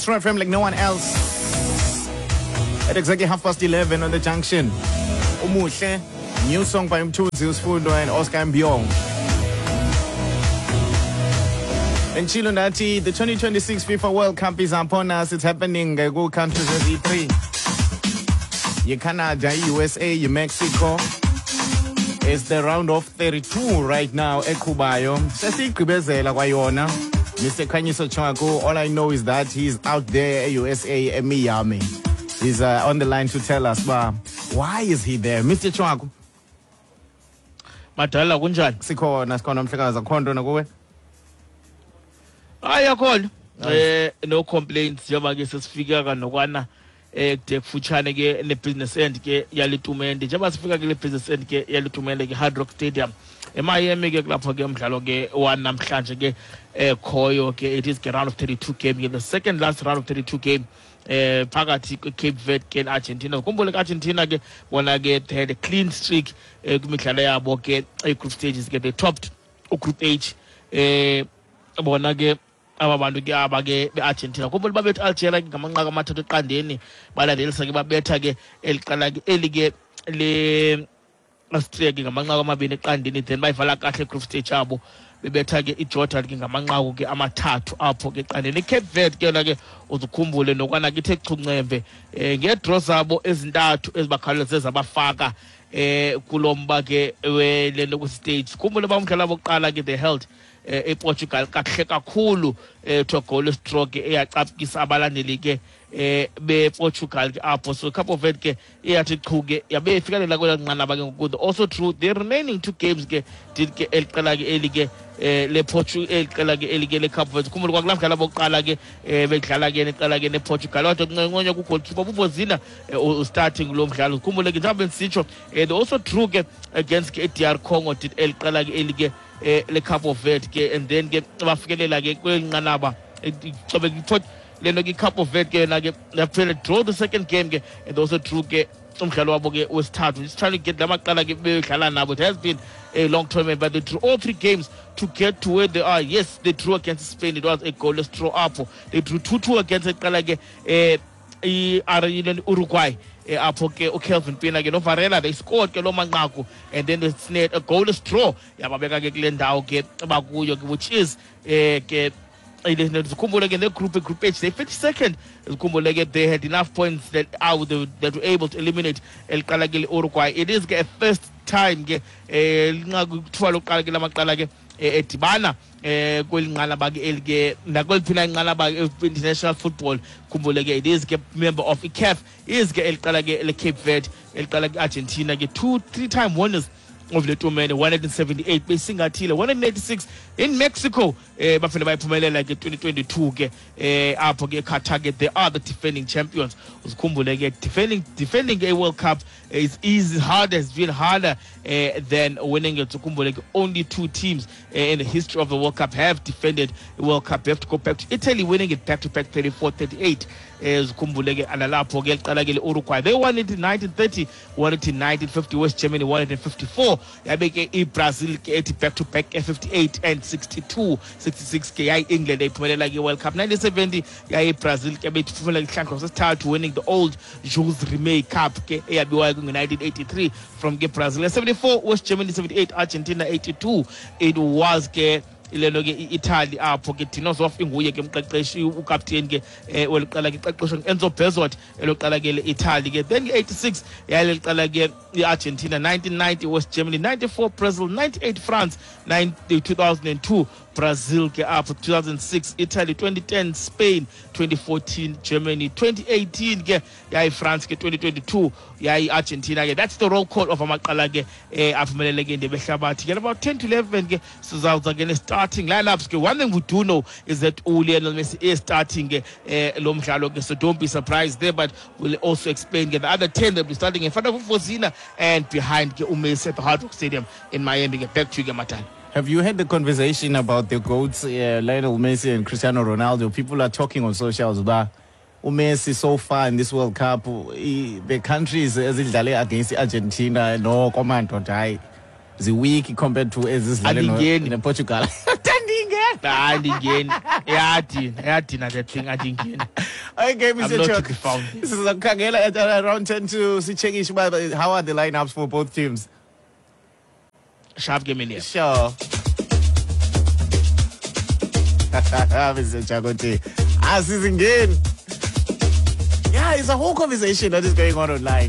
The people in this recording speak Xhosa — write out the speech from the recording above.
Metro FM like no one else. At exactly 11:30 on the junction. Umuhle, new song by Mthunzi Usfundo and Oscar Mbiong. And Chilo Nati, the 2026 FIFA World Cup is upon us. It's happening uh, countries as E3. You Canada, USA, you Mexico. It's the round of 32 right now eqhubayo. Sesiyigqibezela kwayona. Mr. Khanyiso Tshwaku, all I know is that he's out there e-USA eMiami. He's on the line to tell us ba why is he there? Mr. Tshwaku. Madala kunjani? Sikhona sikhona mhlekazi akho nto nakuwe? Hayi akhona. No complaints njengoba ke sesifika kanokwana kude kufutshane ke ne-business end ke yale tumente njengoba sifika kule business end ke yale tumente ke Hard Rock Stadium eMiami ke kulapho ke umdlalo ke wanamhlanje ke khoyo ke. It is ke round of 32 game ke, the second last round of 32 game phakathi kwe-Cape Verde ke ne-Argentina. Khumbule ke Argentina ke bona ke they had a clean streak kwimidlalo yabo ke e-group stages ke. They topped ugroup H bona ke aba bantu ke aba ke be-Argentina. Khumbule babetha Algeria ke ngamanqaku 3-0, balandelisa ke babetha ke eli qela ke eli ke le Austria ke ngamanqaku 2-0, then bayivala kahle group stage abo bebetha ke iJordan ke ngamanqaku ke 3 apho ke eqandeni. ICape Verde ke yona ke uzukhumbule nokwana ke ithe chuncembe ngeedraw zabo ezintathu ezibakhawuleze zabafaka kulo mba ke welento kwi-stage. Khumbule uba umdlalo wokuqala ke they held ePortugal kakuhle kakhulu to a goalless draw ke eyacaphukisa abalandeli ke bePortugal ke apho. So Cape Verde ke iyathi chu ke yabe ifikelela kwela nqanaba ke ngoku. Also drew the remaining two games ke did ke eli qela ke eli ke lePortugal, eli qela ke eli ke leCape Verde. Khumbule kwakulaa mdlalo bokuqala ke bedlala ke neqela ke nePortugal, kodwa kunconya kugoalkeeper uVozinha starting lo mdlalo. Khumbule ke njengoba bendisitsho they also drew ke against ke DR Congo did eli qela ke eli ke leCape Verde ke, and then ke bafikelela ke kweli nqanaba cobe le nto ke iCape Verde ke yona ke yaphela draw the second game ke and also drew ke umdlalo wabo ke wesithathu. Just trying to get la maqela ke bedlala nabo. It has been a long tournament, but they drew all three games to get to where they are. Yes, they drew against Spain. It was a goalless draw apho. They drew 2-2 against iqela ke Uruguay apho ke uKelvin Pina ke noVarela they scored ke loo manqaku, and then they snared a goalless draw yababeka ke kule ndawo ke bakuyo ke, which is ke zikhumbule ke negroup, group H, they finished second. Zikhumbule ke they had enough points that out that were able to eliminate eliqala ke le-Uruguay. It is ke a first time ke linqaku kuthiwa lokuqala ke lamaqala ke edibana kweli nqanaba ke eli ke nakweliphi na inqanaba international football. Khumbule ke it is ke member of iCAF is ke eliqala ke le-Cape Verde, eliqala ke Argentina ke 2 3 time winners of le tournament, 178 besingathile, 186 in Mexico bafele bayiphumelela ke 2022 ke apho ke Qatar ke. They are the defending champions. Uzikhumbule ke defending a World Cup is easy hard has been harder than winning it. Ukhumbule ke only two teams in the history of the World Cup have defended the World Cup. You have to go back to Italy winning it back to back 34 38. Zikhumbule ke analapho ke liqala ke le-Uruguay, they won it in 1930, won it in 1950. West Germany won it in 54, yabe ke iBrazil ke ethi back to back 58 and 62. 66 ke yayi-England eyiphumelela ke World Cup. 1970 yayi-Brazil ke beyiphumelela ihlandlo sesithathu, winning the old Jules Rimet Cup ke eyabiwayo ngo-1983 from ke Brazil. 74 West Germany, 78 Argentina, 82 it was ke ilelo ke i-Italy apho ke Dino Zoff inguye ke umqeqeshi ukapteni ke weliqela ke iqeqeshwa Enzo Bezzot eloqala ke le-Italy ke. Then ke-86 yayileliqela ke i-Argentina, 1990 West Germany, 94 Brazil, 98 France, 2002 Brazil ke apho, 2006 Italy, 2010 Spain, 2014 Germany, 2018 ke yayi-France ke, 2022 yayi-Argentina ke. That's the roll call of amaqela ke aphumelele ke indebe ehlabathi ke. About 10 to 11 ke sizawuza ke ne-starting lineups ke. One thing we do know is that uLionel Messi is starting ke lo mdlalo ke, so don't be surprised there, but we'll also explain ke the other 10 that will be starting in front of uVozina and behind ke uMessi at the Hard Rock Stadium in Miami ke. Back to you ke, Matana. Have you had the conversation about the GOATs, Lionel Messi and Cristiano Ronaldo? People are talking on socials about uMessi so far in this World Cup. The countries ezidlale against Argentina, no command, hayi, weak compared to ezidlale Andingeni. nePortugal. Andingeni. Hayi, ndingeni, iyadina, iyadina that thing, andingeni. Okay, I'm Mr. not to Chuck. be found. Sizokukhangela at around 10 to sichekishe uba how are the lineups for both teams. Sharp ke mini. Sure. Mr. Chakote. Asizingeni. Yeah, it's a whole conversation that is going on online.